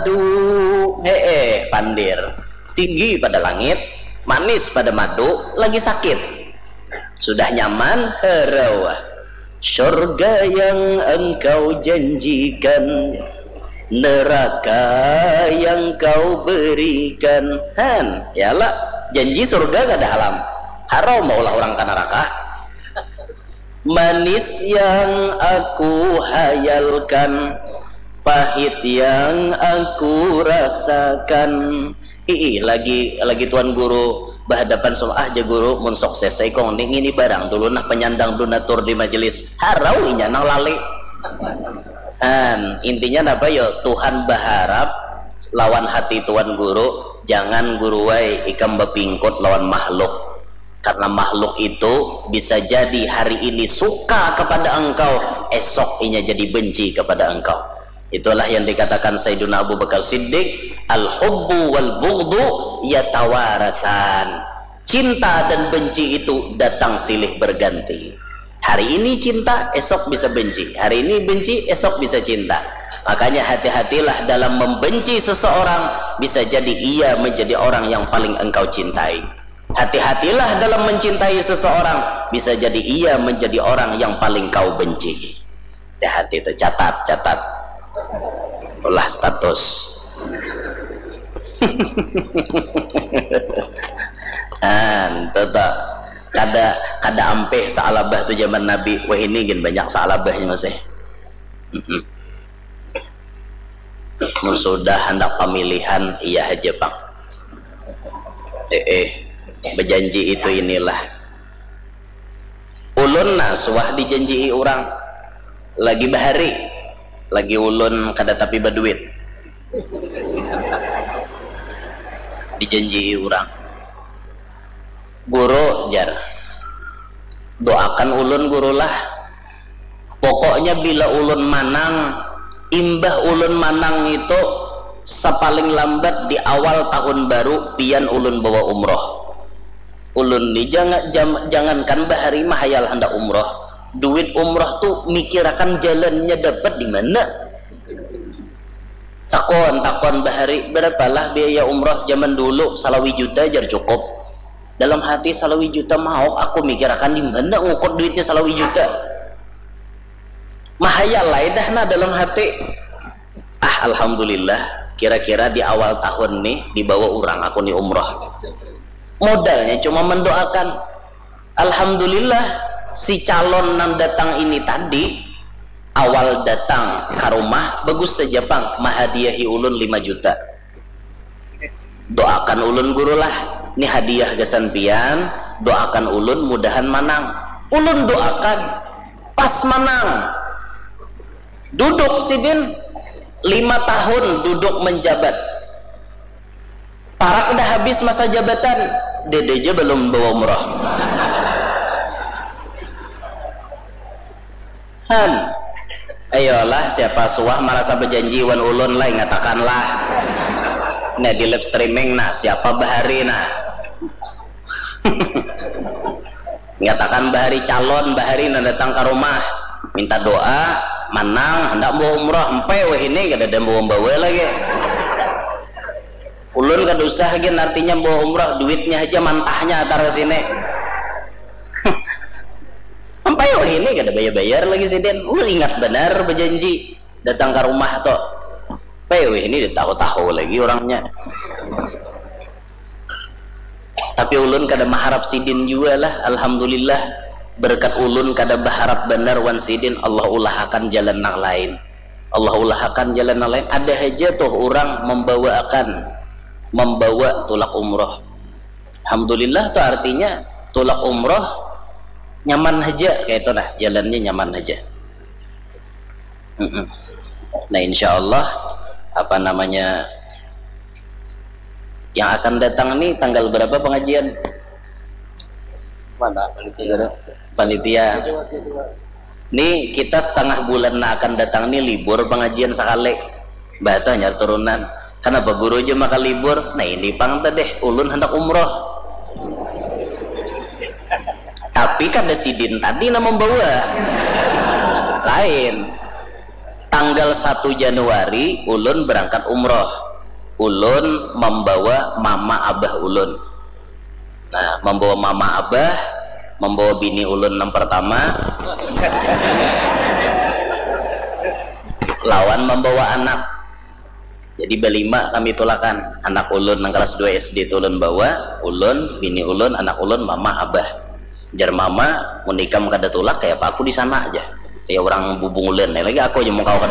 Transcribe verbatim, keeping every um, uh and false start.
Aduh, hee, pandir. Tinggi pada langit, manis pada madu, lagi sakit. Sudah nyaman, harau. Surga yang engkau janjikan, neraka yang kau berikan. Han, ya lah, janji surga kada halam. Harau maulah orang ka neraka. Manis yang aku hayalkan, pahit yang aku rasakan. Ii, lagi lagi tuan guru bahadapan sama ah ja guru, mun sukses saya kong ni ngini barang dulu nah penyandang donatur di majelis. Harau inya nang lali. Han, intinya napa yo, Tuhan baharap lawan hati tuan guru, jangan guruai ikam bapingkut lawan makhluk. Karena makhluk itu bisa jadi hari ini suka kepada engkau, esok inya jadi benci kepada engkau. Itulah yang dikatakan Sayyiduna Abu Bakar Siddiq, "Al-hubbu wal bughdu yatawarasan." Cinta dan benci itu datang silih berganti. Hari ini cinta, esok bisa benci. Hari ini benci, esok bisa cinta. Makanya hati-hatilah dalam membenci seseorang, bisa jadi ia menjadi orang yang paling engkau cintai. Hati-hatilah dalam mencintai seseorang, bisa jadi ia menjadi orang yang paling kau benci. Hati-hati itu, catat, catat. Ulah status. Nah, itu tuh. Kada, kada ampih saalabah tu zaman Nabi. Wah, ini gin banyak saalabahnya masih. Mm-mm. Mun sudah handak pamilihan, iya haja pang. Eh, eh, bejanji itu inilah. Ulun nah suah dijanjii urang. Lagi bahari, lagi ulun kada tapi baduit. Dijanjii urang. Guru, jar, doakan ulun, Guru lah. Pokoknya bila ulun manang, imbah ulun manang itu, sapaling lambat di awal tahun baru, pian ulun bawa umroh. Ulun ni janga-, jam-, jangankan bahari mahayal handak umroh, duit umroh tu mikirakan jalannya dapat di mana. Takon, takon bahari, "Barapalah biaya umroh zaman dulu?" "Salawi juta," jar, "cukup." Dalam hati, "Salawi juta mauk, aku mikirakan di mana ngukur duitnya salawi juta." Mahayal ai dah nah dalam hati. "Ah, alhamdulillah, kira-kira di awal tahun nih dibawa urang aku nih umroh. Modalnya cuma mendoakan." Alhamdulillah, si calon nang datang ini tadi, awal datang ka rumah, bagus saja pang, mahadiahi ulun lima juta. "Doakan ulun, Guru lah, ni hadiah gasan pian, doakan ulun mudahan manang." Ulun doakan, pas manang. Duduk sidin, lima tahun duduk menjabat. Parak dah habis masa jabatan, dede ja balum bawa umroh. Han, ayolah, siapa suah marasa bajanji wan ulun lah, ingatakan lah. Nah, di live streaming nah, siapa bahari nah. Ingatakan bahari calon, bahari nang datang ka rumah, minta doa, manang, handak bawa umroh, empai wahini kadada bawa-bawa lagi. Ulun kada usah gin artinya bawa umroh, duitnya haja mantahnya atar ka sini. Empai wahini kada bayar-bayar lagi sidin. Ulun ingat banar bajanji datang ka rumah tu. Empai wahini ditahu-tahu lagi urangnya. Tapi ulun kada maharap sidin jua lah, alhamdulillah. Berkat ulun kada baharap banar wan sidin, Allah ulahakan jalan nang lain. Allah ulahakan jalan nang lain. Ada haja tuh urang mambawaakan, mambawa tulak umroh. Alhamdulillah tuh artinya tulak umroh nyaman haja, kaya itu nah, jalannya nyaman haja. Mm-mm. Nah, insya Allah, apa namanya, yang akan datang nih tanggal berapa pengajian? Mana panitia? Panitia. Nih, kita setengah bulan yang akan datang nih libur pengajian sekali. Bah, tuh hanyar turunan. Kenapa guru aja maka libur? Nah, ini pang tadeh, ulun hendak umroh. Tapi kada sidin tadi nang membawa. Lain. Tanggal satu Januari ulun berangkat umroh. Ulun membawa mama abah ulun. Nah, membawa mama abah, membawa bini ulun yang pertama, lawan membawa anak. Jadi berlima kami tulakan. Anak ulun yang kelas dua S D itu ulun bawa, ulun, bini ulun, anak ulun, mama, abah. Jar mama, mun ikam kada tulak, kayak apa aku di sana aja. Kayak orang bubung ulun, lagi aku aja mau kau